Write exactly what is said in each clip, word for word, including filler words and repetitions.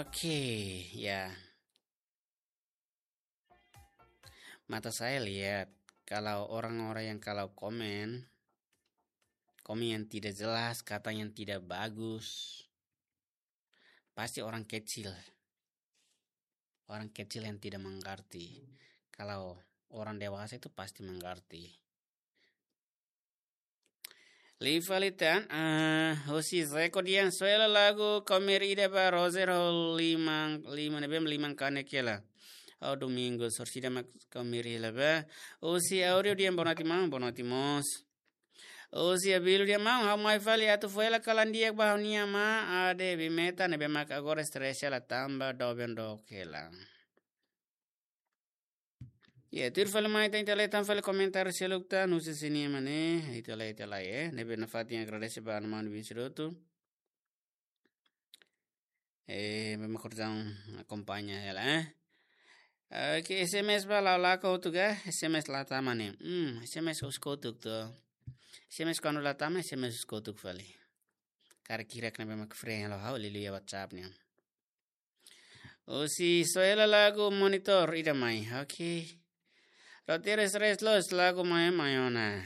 Oke, ya. Mata saya lihat, kalau orang-orang yang kalau komen, komen yang tidak jelas, kata yang tidak bagus, pasti orang kecil. Orang kecil yang tidak mengerti. Kalau orang dewasa itu pasti mengerti. Liu fali tan, ah, husi Zeko Dian, soe hela lagu Kau Meri ida ba Roger ho liman, liman ne'ebé liman kanek hela. Ha'u Domingos, orsida mak Kau Meri hela ba. Husi Áudio Dian, boa noite maun, boa noite mós. Husi Abílio Dian, maun, ha'u mai fali atu fó hela kalan di'ak ba ha'u-nia amá Ade Bimeta ne'ebé mak agora estresa hela tanba doben dook hela. Ya, tuir fali mai tan, ita lee tan fali komentáriu seluk tan, husi sini mane, ita lee, ita lee, eh. Ne'ebé nafatin agradese ba maun Vinci Roto. Eh, memang kerjaan akompaña hela, eh. Oke, S M S ba la'o la'o kotuk, eh. S M S la tama ne'e. Hmm, S M S husi kotuk to. S M S kuandu la tama, S M S husi kotuk fali. Karik hirak ne'ebé mak freq halo ha'u, liuliu iha WhatsApp nian. Husi soe hela lagu Monitor ida mai. Oke. Roteiru estresa loos lagu mai mai ona.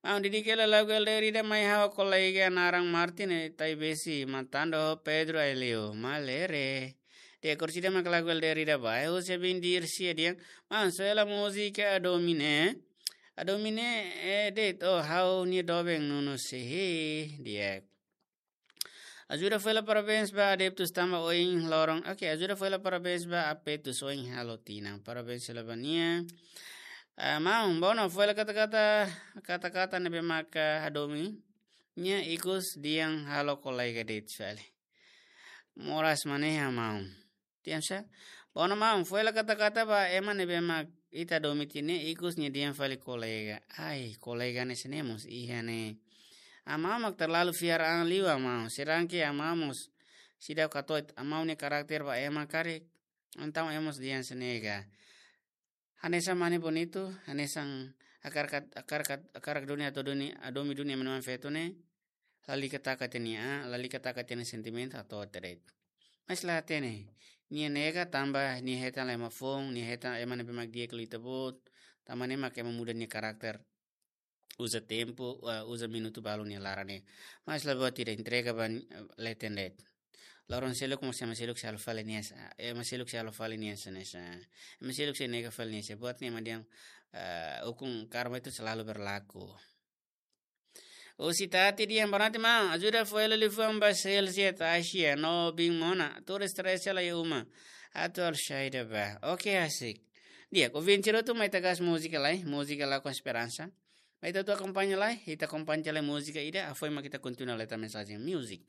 Maun, dedika hela lagu L D R ida mai ha'u kolega naran Martin, eh, Taibesi, Matando, Pedro Aileu, Malere. Di'ak, orsida mak lagu L D R ida ba. Eh, husi Bindir sia di'ak. Maun, soe hela múzika Adomi ne'e. Adomi ne'e, eh, de'it, oh, ha'u-nia doben Nuno Sehi, di'ak. Ajuda fó hela parabéns ba adeptus tanba ohin loron. Oke, Ajuda fó hela parabéns ba apetus ohin halo tinan. Parabéns hela ba nia. Ah, maun, Bono, fó hela kata-kata, kata-kata ne'ebé maka hadomi nia ikus dehan halo kolega de'it fali. Moras maneha, maun. Tiam sa? Bono maun, fó hela kata-kata ba ema ne'ebé mak ita hadomi tiha ne'e ikus nia dehan fali kolega. Ai, kolega ne'e sene mós iha ne'e. Amá mak terlalu fiar an liu amá. Sedangkan amá mós seidauk hato'o amá nia karakter ba ema karik. Entaun ema mós dehan sene ka. Hanesan mane bonitu, hanesan hakarak, hakarak, hakarak duni atu duni, hadomi duni ema-ema feto ne'e. Lalika taka tiha nia, lalika taka tiha nia sentimentu atu terek. Mas la hatene, nia nega tanba nia hetan la ema foun, nia hetan ema ne'ebé mak di'ak liu ita-boot, tanba ne'e mak ema muda nia karakter. Uza tempu, eh, uza minutu balu nia laran ne'e. Mas la buat ida, entrega ba, eh, leten de'it. Loron seluk mós ema seluk sei halo fali nia sa, ema seluk sei halo fali nia sa ne'e sa. Ema seluk sei nega fali nia sa. Buat ne'e mak dehan, eh, hukum karma itu selalu berlaku. Husi Tati dehan, boa noite maun, Ajuda fó hela liafuan ba Celsius, Asia, no bin mona, turis teresa la iha uma. Atu halo saida ba. Oke, asik. Di'ak, ouvinte hotu, mai ita gás múzika lai, múzika Lakuan Esperansa. Mai ita hotu akompaña lai, ita akompaña lai múzika ida, hafoin mak ita kontinua leta mensajen music.